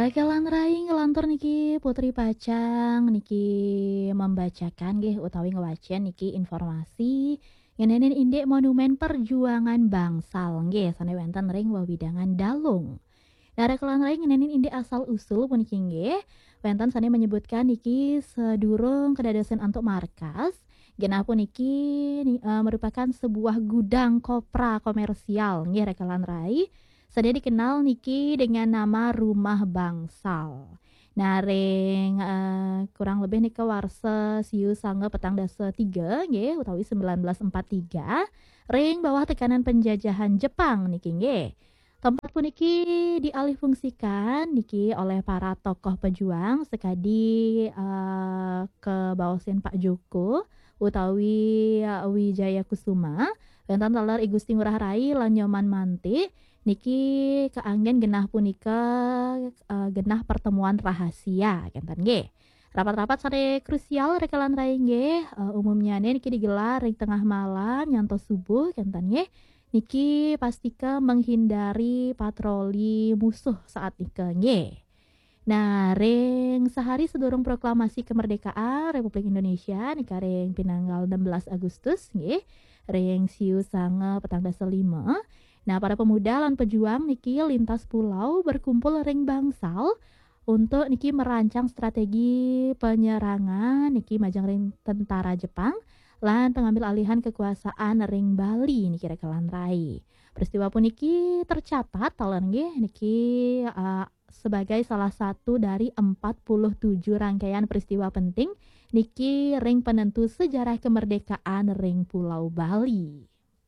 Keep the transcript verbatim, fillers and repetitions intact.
Rekelan rai ngelantur niki Putri Pacang niki membacakan nggih utawi ngewacen niki informasi ngeninin indik Monumen Perjuangan Bangsal nggih sane wenten ring wewidangan Dalung. Nah, rekelan rai ngeninin indik asal usul puniki nggih wenten sane menyebutkan niki sedurung kedadosan antuk markas, genah puniki ni- eh, merupakan sebuah gudang kopra komersial nggih rekelan rai. Sane dikenal niki dengan nama Rumah Bangsal. Nah, ring eh, kurang lebih nika warsa siu sanga petang dasa tiga nggih utawi sembilan belas empat tiga, ring bawah tekanan penjajahan Jepang niki nggih. Tempat puniki dialihfungsikan niki oleh para tokoh pejuang sekadi eh, kebaosin Pak Joko utawi eh, Wijaya Kusuma, wenten taler I Gusti Ngurah Rai lan Nyoman Mantik, niki kaanggen genah punika eh, genah pertemuan rahasia kenten nggih. Rapat-rapat sane krusial rekelan rai nggih eh, umumnyane niki digelar ring tengah malam nyantos subuh kenten nggih. Niki pastika menghindari patroli musuh saat nika nggih. Nah, ring sehari sedurung proklamasi kemerdekaan Republik Indonesia nika ring pinanggal enam belas Agustus nggih, ring siu sanga petang dasa lima. Nah, para pemuda lan pejuang niki lintas pulau berkumpul ring Bangsal untuk niki merancang strategi penyerangan niki majeng ring tentara Jepang lan pengambil alihan kekuasaan ring Bali niki rekelan rai. Peristiwa puniki tercatat taler nggih niki uh, sebagai salah satu dari empat puluh tujuh rangkaian peristiwa penting niki ring penentu sejarah kemerdekaan ring Pulau Bali.